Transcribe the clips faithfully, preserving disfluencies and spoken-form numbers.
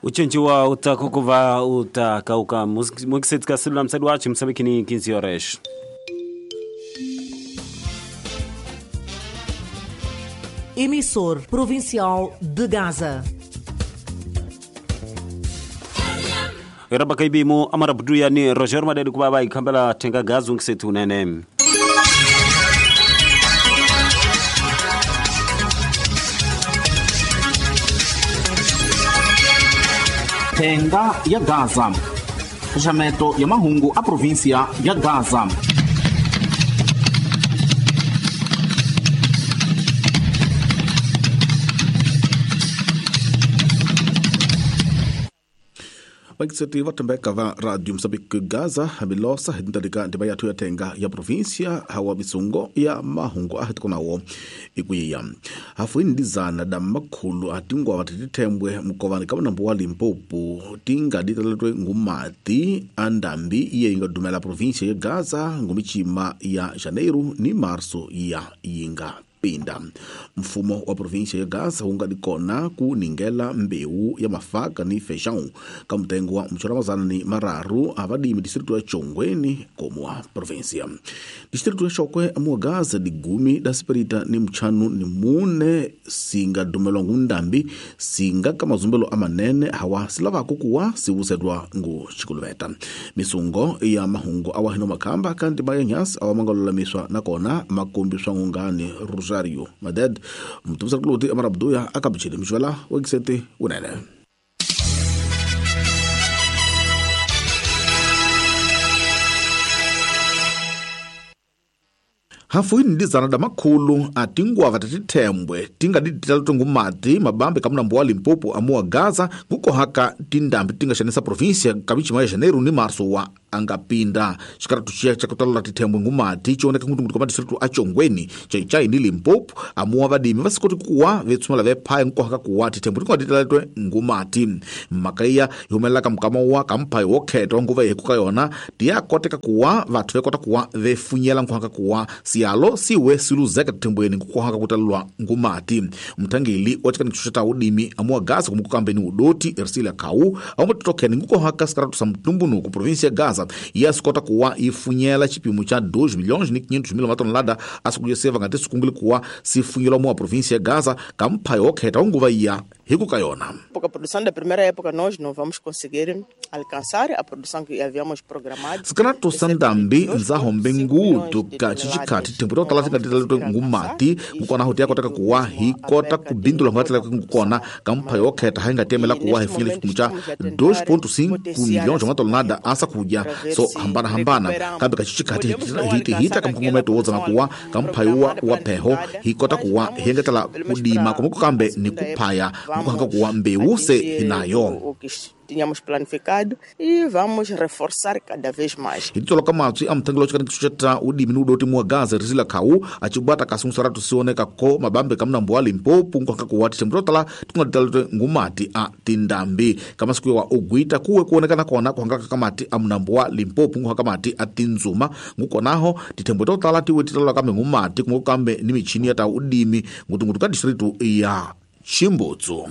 Ucinci wa utakukuva utakauka mukisetika silula msadi wachi msabikini quinze horas. Emissor Provincial de Gaza. Raba kaibimu amara buduya ni Roger Madedi kubaba ikambela tenga gazu nkisetu nene. Tenga ya Gaza. Xaxameto ya mahungu a província ya Gaza. Vagiseti va thembeka va Radio Mozambique Gaza hamilosa hi tindalika ndima yathu ya thenga ya província hawa misungo ya mahungu a hitikonawo ikuyiya hafu indizana da makhulu atingwa vatithembwe mukovani ka munambu wa Limpopo tinga ditaletwe ngumati andambi iye inga dumela província ya Gaza ngumichima ya Janeiro ni Março ya yinga pinda. Mfumo wa província ya Gaza unga dikona ku ningela mbeu ya mafaka ni feijão ka mutengo wa mchoramazana ni mararu avadimi distrito ya Chongweni como a província. Distrito ya Chokwe mu Gaza digumi da Spirit ni mchanu ni mune singa dumelwa ngundambi singa kamazumbelo amanene hawa silava kukuwa siwusedwa ngu chikuluveta. Misungo ya mahungu awahino makamba kandi bayanyas awamangololamiswa nakona makumbi swangungani Rosario Maded mtumsa kuloti amarabduya akabchile mshwala wegisete unene. Hafu indizana da makhulu atingwa vatatithembwe tinga dititalo ngumati mabambe kamnambo wa Limpopo amua Gaza ngukohaka tindambi tingaxanisa província kamichima ya Janeiro ni Março wa angapinda xikaratu xiya xa kutalola tithembwe ngumati cioneka ngutungutu ka madistrito a Chongweni Chaichai ni Limpopo amua vadimi vasikoti kuwa vetsumela vephaya ngukohaka kuwa tithembwe tinga titaletwe ngumati mhaka iya yi humelelaka mukama wa kamphayo wo khetwa nguva yi hikuka yona tiyakoteka kuwa vathu vekota kuwa vefunyela nkuhaka kuwa siyalo siwe siluzeka tithembweni ngukohaka kutalelwa ngumati. Mthangeli wa xikanikiso xa ta udimi amua Gaza kumukukambeni udoti Ersilia Kau aumatotokheni ngukohaka sikaratu sa mtumbunuku província ya Gaza yasikota kuwa ifunyela chipimo cha dois milhões e quinhentos mil matonelada asikuyeseva ngati sikungile kuwa sifunyelwa mua província ya Gaza kamphayo okheta unguva iya hikuka yona. Porque a produção da primeira época nós não vamos conseguir alcançar a produção que havíamos programado. Sikaratu sandambi nzahombe ngutu ka chichikhati thembu to tala tingatitaletwe ngumati ngukona huti yakotaka kuwa hikota kubindula ngatela ngukona kamphayo okheta haingatemela kuwa hifunyela chipimo cha dois ponto cinco milhões de matonelada asakudya so hambana hambana kambe kachichikhati hiti hita kamkongometo wodzana kuwa kamphayo wa wa pheho hikota kuwa hengetela kudima komuko kambe ni kuphaya ngukuhanga kuwa mbewu se hinayo. Tínhamos planificado e vamos reforçar cada vez mais. Hitolo kamatswi a mthangelo xikanikiso xa udimi ni udoti mua Gaza Rizila Kau achibwata kasungisaratu sioneka ko mabambe kamnambo wa Limpopo nkuhanga kuwa tithembu to tala tingatitaletwe ngumati a tindambi kamasiku wa ogwita kuwe kuonekana kona kuhangaka kamati a mnambo wa Limpopo nkuhanga mati a tinzuma ngukonaho tithembu to tala tiwe titalola kambe ngumati kumwe kambe ni michini ya ta udimi ngutungutu ka distrito ya Chimbutsu.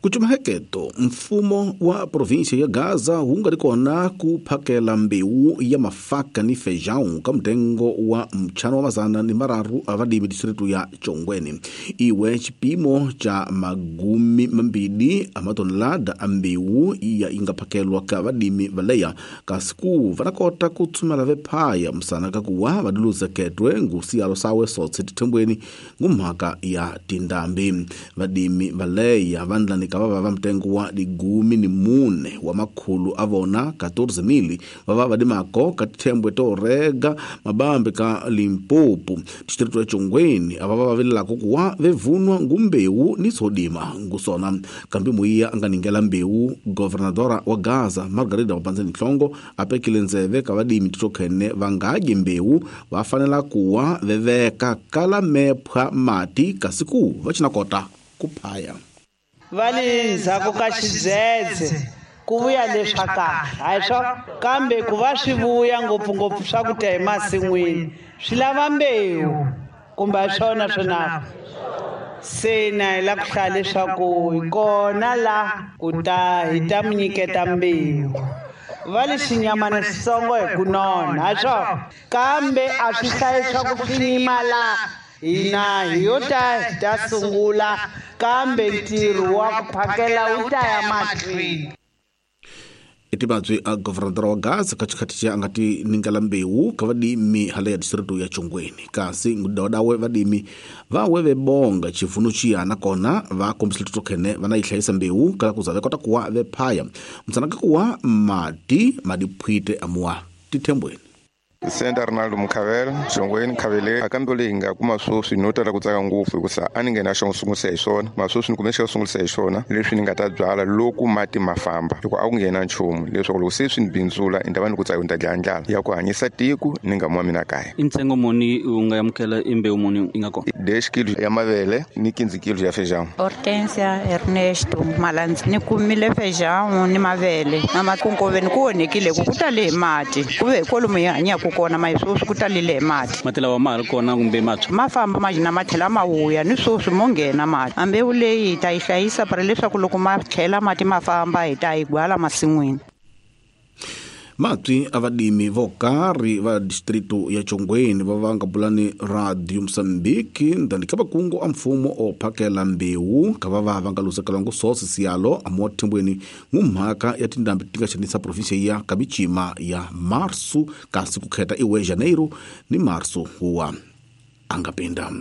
Kuchumaheketo mfumo wa província ya Gaza wu nga kona ku phakela mbewu ya mafaka ni feijão ka mutengo wa mchano wa mazana ni mararu a vadimi distrito ya Chongweni. Iwe chipimo cha magumi mambili a matonelada a mbewu iya inga phakelwa ka vadimi valeya kasi ku vanakota ku tsumela vephaya msana ka kuwa vadiluzeketwe ngusiyalo sawe sotse tithembweni ngumhaka ya tindambi. Vadimi valeya vandlani kava va mtengo wa digumi ni mune wa makhulu avona quatorze mil vava vadimako ka tithembwe to rega mabambe ka Limpopo distrito ya Chongweni ava va vilelako kuwa vevunwa ngumbewu ni sodima ngusona kambe muiya anga ningela mbewu governadora wa Gaza Margarida Mapanzeni Hlongo apekile ndzeve ka vadimi titokhene vangadyi mbewu va fanela kuwa veveka kala mephwa mati kasi ku va cinakota kuphaya. Vale ndzhaku ka xidzedze ku vuya leswa kahle hayi swa kambe ku va swi vuya ngopfungopfu swakudya emasin'wini swi lava mbewu kumbe a swona swona Se na hi la ku hlaya leswaku hi kona la ku ta hi ta mi nyiketa mbewu. Va le xinyamana xitsongo hi ku nona, ha swona. Kambe a swi hlayi swa ku swi nyima la hina hi yo ta hi ta sungula, kambe ntirho wa ku phakela wu ta ya mahlweni. Etibatswe a governador wa Gaza ka xikhathi xa nga ti ningela mbewu ka vadimi hala ya distrito ya Chongweni kasi ngudawadawe vadimi va we vebonga chivuno chiyana kona va kombisile tokhene va na yi hlayisa mbewu kala kuza ve kota kuwa ve phaya mtsanaka kuwa mati madiphwite amuwa tithembweni. Senta Ronaldo Mukhavela, Chongweni Khavele, akambe leyi nga kuma sweswi no tala ku tsaka ngopfu hikusa a ni nghena xo sungulisa hi swona masweswi ni kume xo sungulisa hi swona leswi ni nga ta byala loko mati ma famba hikuva a ku nghena nchumu leswaku loko se swi ni bindzula ni ta va ni ku tsaka ni ta dlaya ndlala ya ku hanyisa tiko ni nga mwa mina kaya. I ntsengo muni u nga amukela i mbewu muni yi nga kona? Dez kilo ya mavele ni quinze kilo ya feijão. Hortensia Ernesto Malandzi ni kumile feijão ni mavele na makunkoveni ku onhekile ku ku tale hi mati ku ve kwalomu hi hanyaka kona ma sweswi ku talile hi mati. Mati lawa ma ha ri kona kumbe matshwa? Ma famba ma na ma tlhela ma vuya ni sweswi mo nghena mati. A mbewu leyi hi ta yi hlayisa para leswaku loko ma tlhela mati ma famba hi ta yi gwala masin'wini. Matwi a vadimi vo karhi va distrito ya Chongweni va va nga bulani Radio Mozambique ndani ka vakungu a mfumo o phakela mbewu ka va va va nga lusekela ngu sosi siyalo amuwa thembweni ngumhaka ya tindhambi ti nga xanisa provinsia ya Kabichima ya Marsu kasi ku kheta iwe Janeiro ni Marsu huwa angapinda.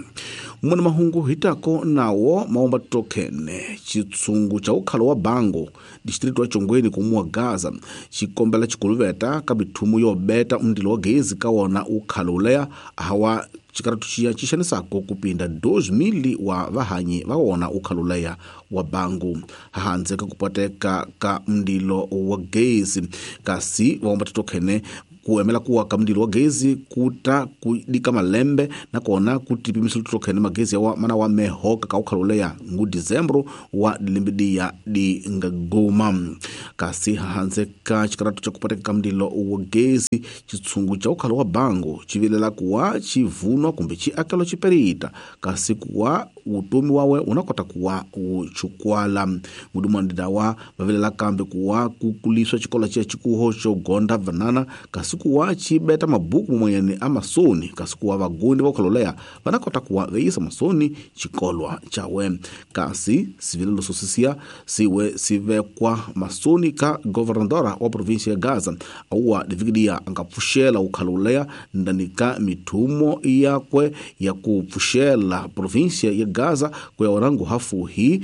Mwana mahungu hitako nawo maomba tokhene chitsungu cha ukhalo wa Bango distrito wa Chongweni kumuwa Gaza chikombela chikuluveta ka bithumu yo beta mndilo wa gezi ka wona ukhalo uleya hawa chikaratu chiya chixanisako kupinda dois mil wa vahanyi va wona ukhalo uleya wa Bango handze ka kupateka ka mndilo wa gezi kasi vaomba tokhene kuemela kuwa ka mndilo wa gezi kuta kudika malembe na kona kutipimisa tokhene magezi ya wa mana wa mehoka ka ukhalo uleya ngu Dezembro wa limbidia di ngagoma kasi handze ka chikaratu cha kupateka ka mndilo wa gezi chitsungu cha ukhalo wa Bango chivilela kuwa chivunwa kumbe chiakelo chiperita kasi kuwa utomi wawe unakota kuwa uchukwala mudumandida wa vavilela kambe kuwa kukuliswa chikola cha chikuho cho gonda vanana kasi kuwa chibeta mabuku mwenyani amasoni kasi kuwa vagundi va ukhaloleya vanakota kuwa veisa masoni chikolwa chawe kasi sivilelo sosisia siwe sivekwa masoni ka governadora wa provinsia ya Gaza auwa divikidia angapfuxela ukhaloleya ndani ka mithumo yakwe ya kupfuxela provinsia ya Gaza ku ya orangu hafuhi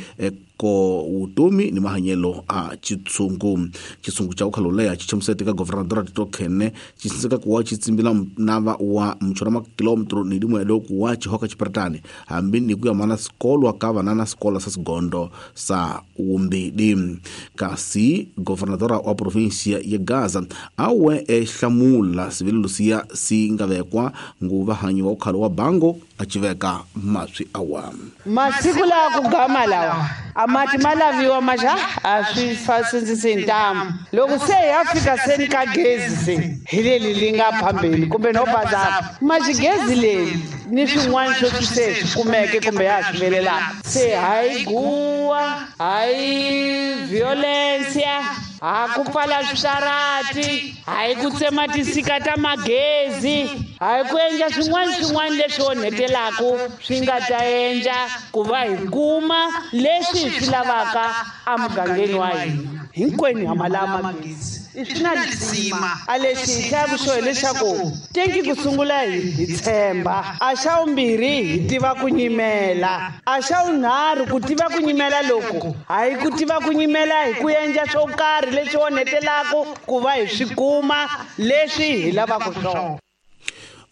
ko utomi ni mahanyelo a chitsungu chitsungu cha ukhaloleya chichamusete ka governadora tokhene chisinzeka kuwa chitsimbila nava wa mchora ma kilometro ni limwe lo kuwa chihoka chipertani hambi ni kuya mana sikolwa ka vanana sikola sa sigondo sa umbidi kasi governadora wa provinsia ya Gaza awe ehlamula sivilelo siya singavekwa nguva hanyi wa ukhalo wa Bango achiveka maswi awa masiku lawa ku gama lawa amati malaviwa maja a swi fasindzisi ntamu loko se ya fika seni ka gezi se hi leli li nga phambeni kumbe no bazapa maxigezi leri ni swin'wana swo swi se swi kumeke kumbe ya swi velelaka se hayi guwa hayi violencia ha ku pfala switarati hayi ku tsema tisika ta magezi hayi ku endla swin'wana swin'wana leswi onhetelaku swi nga ta endla ku va hi kuma leswi hi swi lavaka emugangeni wa hina hinkwenu ha ma lava magezi i swi na lisima a lexi hi hlayaku xo hileswaku tenki ku sungula hi hi tshemba a xa vumbirhi hi tiva ku nyimela a xa vunharhu ku tiva ku nyimela loku hayi ku tiva ku nyimela hi ku endla swo karhi leswi onhetelaku ku va hi swi kuma leswi hi lavaka swona.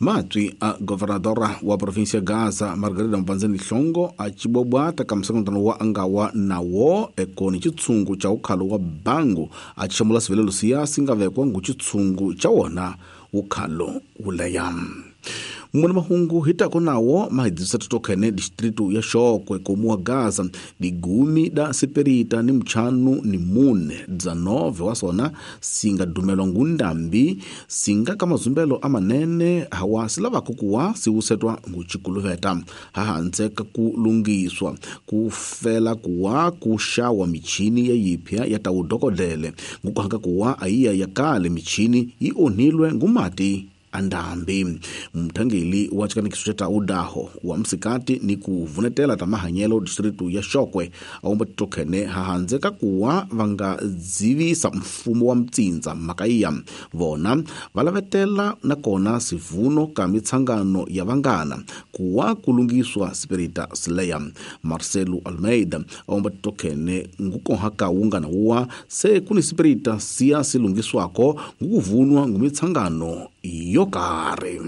Matwi a governadora wa provinsia Gaza Margarida Mbanzeni Hlongo a chibobwata ka msangano wa angawa nawo ekoni chitsungu cha ukhalo wa Bango a chishamula sivilelo siya singavekwa ngu chitsungu cha wona ukhalo uleya. Mwana mahungu hitako nawo mahidisa totokhene distritu ya Shokwe komuwa Gaza digumi da siperita ni mchanu ni mune dzanove wasona singa dumelwa ngundambi singa kamazumbelo amanene hawa silava kukuwa siusetwa nguchikuluveta hahanze kakulungiswa kufela kuwa kushawa michini ya yipya ya taudokodele ngukuhanga kuwa aiya ya kale michini ionilwe ngumati andambi. Mthangeli wa chikanikiso cha taudaho wa msikati ni kuvunetela tamahanyelo distritu ya Shokwe aomba tokhene hahanze kakuwa vanga dzivisa mfumo wa mtsinza makaiya vona valavetela nakona sivuno ka mitsangano ya vangana kuwa kulungiswa spirita sileya. Marcelo Almeida aomba tokhene ngukohaka wungana uwa se kuni spirita siya silungiswako ngukuvunwa ngumitsangano yokare.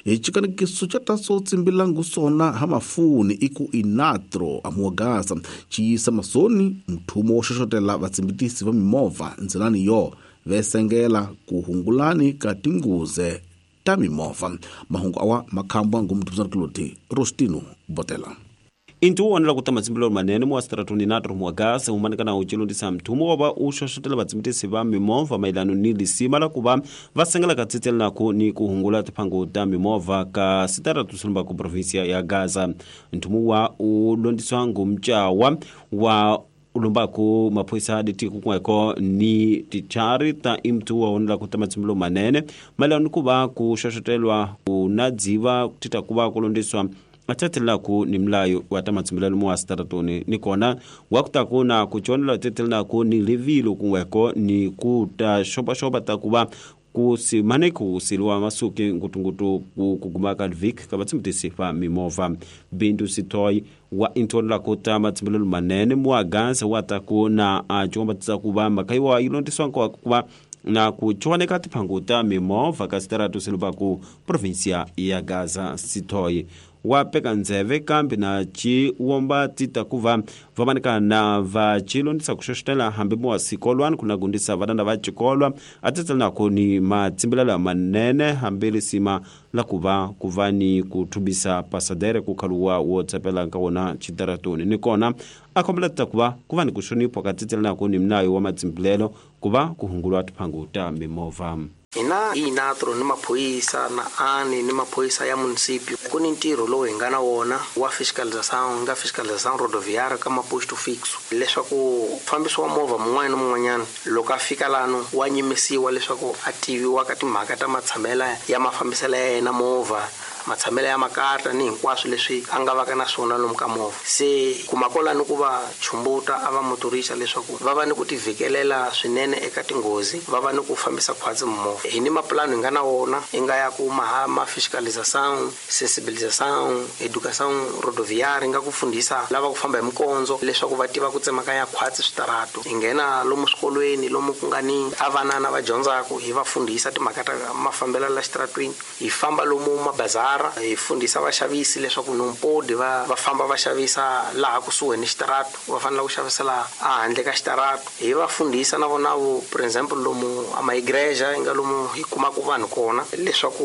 Echikanikiso cha taso tsimbila ngusona hamafuni iku inatro amuagaza chiyisa masoni mthumo wo xoxotela vatsimbitisi va mimovha ndzilani yo vesengela kuhungulani ka tinguze ta mimovha. Mahungu awa makhamba ngumthumzana kuloti Rostino Botela. Intu wonela ku tamatsimbilo manene mu stratoni natro muagasa umanikana uchilundisa mthumo wa u xoxotela vatsimbitisi va mimovha mailano ni lisima la kuva va sengela ka tsitsela nako ni kuhungula tiphango ta mimovha ka sitaratu silumba ku provinsia ya Gaza. Nthumo wa u londiswa ngumtjawa wa ulumbaku maphoyisa ditiko kunweko ni tichari ta imtu wa wonela ku tamatsimbilo manene mailano ku va ku xoxotelwa ku na dziva tita ku va ku londiswa atatelaku ni mlayo wa tamatsimbelelo mu stratoni ni kona wakutaku na kuchonela tetelnaku ni livilo kunweko ni kuta shopa shopa takuba kusimane kusilwa masuki ngutungutu kugumaka vik kabatsimtisi fa mimova bindu sitoi wa intonla kuta matsimbelelo manene mu aganza wataku na achomba tsakuba makaiwa ilondiswa kwa kuba na kuchoneka tiphanguta mimova ka sitaratu silubaku provincia ya Gaza. Sitoi wapeka nzeve kambi na chiwomba tita kuva vamanika na vachilondisa kuxoxotela hambi muwa sikolwani kuna gundisa vanana va chikolwa atsetsela nako ni matsimbelelo manene hambi lisima la kuva kuva ni kuthubisa pasadere kukhaluwa wo tsepela nka wona chitaratoni ni kona akhombela tita kuva kuva ni kuxonipha ka tsetsela nako ni mnayo wa matsimbelelo kuva kuhungulwa tiphangu ta mimovha. Hina hi natro ni maphoyisa na ani ni maphoyisa ya municipio ku ni ntirho lowu hi nga na wona wa fiscalização nga fiscalização rodoviária ka maposto fixo leswaku mfambisi wa movha mun'wana na mun'wanyana loko a fika lano wa nyimisiwa leswaku a tiviwa ka timhaka ta matshamela ya mafambiselo ya yena movha matshamelo ya makata ni hinkwaswo leswi a nga vaka na swona lomu ka movha. Se kuma kolani ku va chumbuta a va motorisa leswaku va va ni ku tivhikelela swinene eka tinghozi va va ni ku fambisa khwatsi movha. Hi ni mapulani hi nga na wona hi nga ya ku maha ma fiscalização sensibilização educação rodoviária nga ku fundisa lava ku famba hi mikondzo leswaku va tiva ku tsemakanya khwatsi switaratu. Hi nghena lomu swikolweni lomu ku nga ni a vanana va dyondzaku hi va fundisa timhaka ta mafambelo la xitaratwini. Hi famba lomu mabazara hi fundisa vaxavisi leswaku nompodi va va famba va xavisa laha kusuhi ni xitaratu va fanele ku xavisela ehandle ka xitaratu. Hi va fundisa na vona vo for example lomu a maigreja hi nga lomu hi kumaka vanhu kona leswaku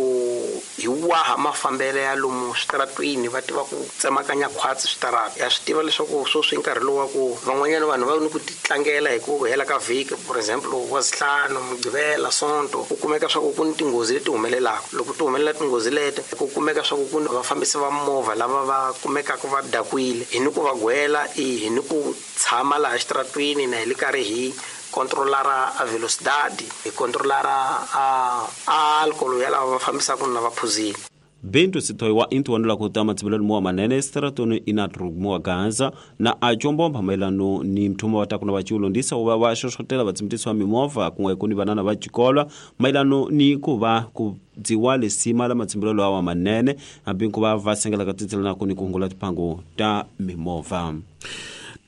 hi waha mafambelo ya lomu switaratwini va tiva ku tsemakanya khwatsi switaratu. Ya swi tiva leswaku sweswi nkarhi lowu wa ku van'wanyana vanhu va ni ku titlangela hi ku hela ka vhiki for example wa zihlanu mugqivela sonto ku kumeka swa ku ku ni tinghozi leti humelelaka. Loko ti humelela tinghozi leti ku kumeka swa ku ku vafambisi va movha lava va kumekaka va dakwile hi ni ku va gwela i hi ni ku tshama laha xitaratwini na hi le karhi hi controlara a velocidade hi controlara a alcohol ya lava va fambisaka na va phuzile. Bintu sitoi wa intu wanula kutama tsimbelelo muwa manene stratoni inatrugmuwa Gaza na achombo mpamailano ni mthumo watakuna vachiulondisa uva wa xoxotela vatsimbitisi wa mimovha kunwe kuni vanana va chikolwa mailano ni kuva ku dziwa lisima la matsimbelelo awa manene hambi kuva va sengela ka tsitsela nako ni kuhungula tiphango ta mimovha.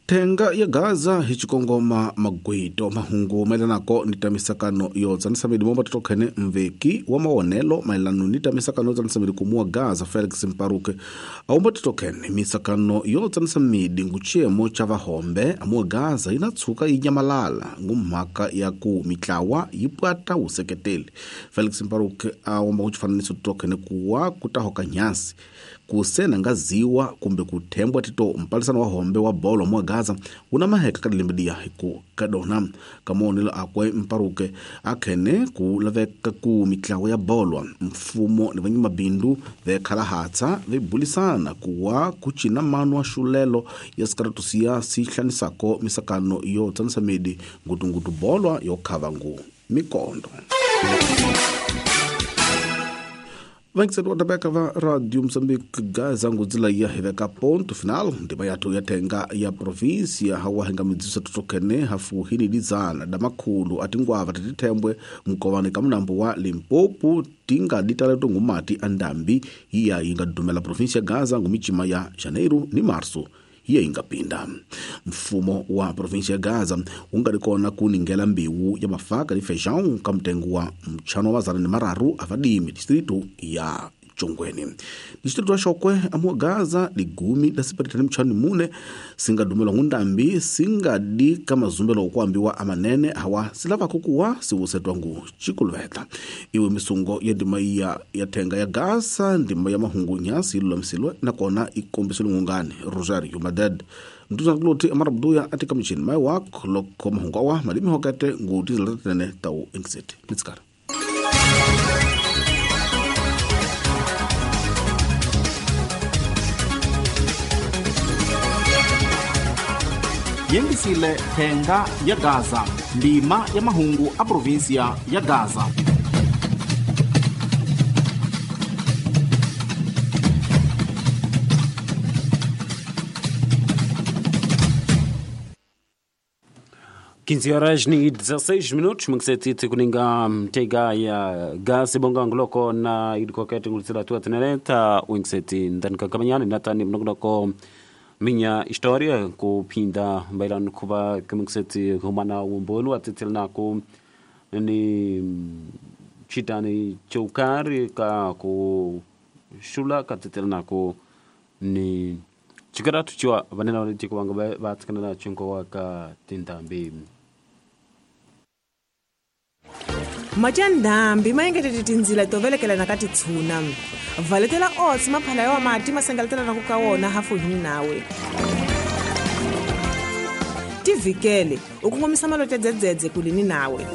Thenga ya Gaza hi xikongoma magwito mahungu mayelanako ni ta misakano yo tsanisa medi momba totokhene mveki wa mawonelo mayelano ni ta misakano yo tsanisa medi kumuwa Gaza Felix Mparuke aumba totokhene misakano yo tsanisa medi nguchemo cha vahombe amuwa Gaza inatsuka inyamalala ngumhaka ya ku mitlawa yipwata useketeli. Felix Mparuke aumba kuchifananiso totokhene kuwa kutahoka nyasi kusena ngaziwa kumbe kuthembwa tito mpalisano wa hombe wa bolo mwa Gaza una maheka kadilimbidia hiku kadona kamonelo akwe Mparuke akhene ku laveka ku mitlawa ya bolwa mfumo ni vanyi mabindu vekhala hatsa vebulisana kuwa kuchina mano wa xulelo ya sikaratusiya sihlanisako misakano yo tsanisa medi ngutungutu bolwa yo khava ngu mikondo. Vankiseti wa tabeka va Radio Mozambique Gaza ngudzila ya hiveka ponto final ndima yathu ya thenga ya província hawa hinga midziso totokhene hafu hini lizana damakhulu atingwava titithembwe mkovani ka munambo wa Limpopo tinga ditaleto ngumati andambi iya inga dumela província Gaza ngumichima ya Janeiro ni Março hiya ingapinda. Mfumo wa província ya Gaza ungalikona kuningela mbiwu ya mafaka ni feijão kamtengo wa mchano wa zana ni mararu avadimi distrito ya Chongweni. Distrito ya Chokwe amu Gaza ligumi la siparitani mchano mune singadumela ngundambi singadi kama zumbelo okuambiwa amanene hawa silava kukuwa siwusetwa ngu chikulweta. Iwe misungo ya ndima ya, ya thenga ya Gaza ndima ya mahungu nyasi ilulamisilwe nakona ikombiswe lungungani Rosario Madad. Mtuza kuloti amarabuduya atika mchini mai wak loko mahungu awa malimi hokete ngu tizilatatene tau inkseti. Nitsikara. Yengisile thenga ya Gaza ndima ya mahungu a província ya Gaza. quinze horas e dezesseis minutos, mngiseti kuninga mtega ya Gaza bonga nguloko na idikokete ngulitsila tua teneleta uingiseti ndani kakamanyani natani mnognoko minha história kupinda bailando kuba kumngiseti humana umbonu atitilna ku ni chitani chokari ka ku shula katitilna ku ni chikaratu chiwa vanena valitiko vanga vatsikana na chinko waka tindambi. Machandambi mayengetete tindzila to velekela na ka titshuna. Valetela oats maphala ya mati masengaletela na ku ka wona hafu hini nawe. Tivikele u kongomisa malote dzedzedze kulini nawe.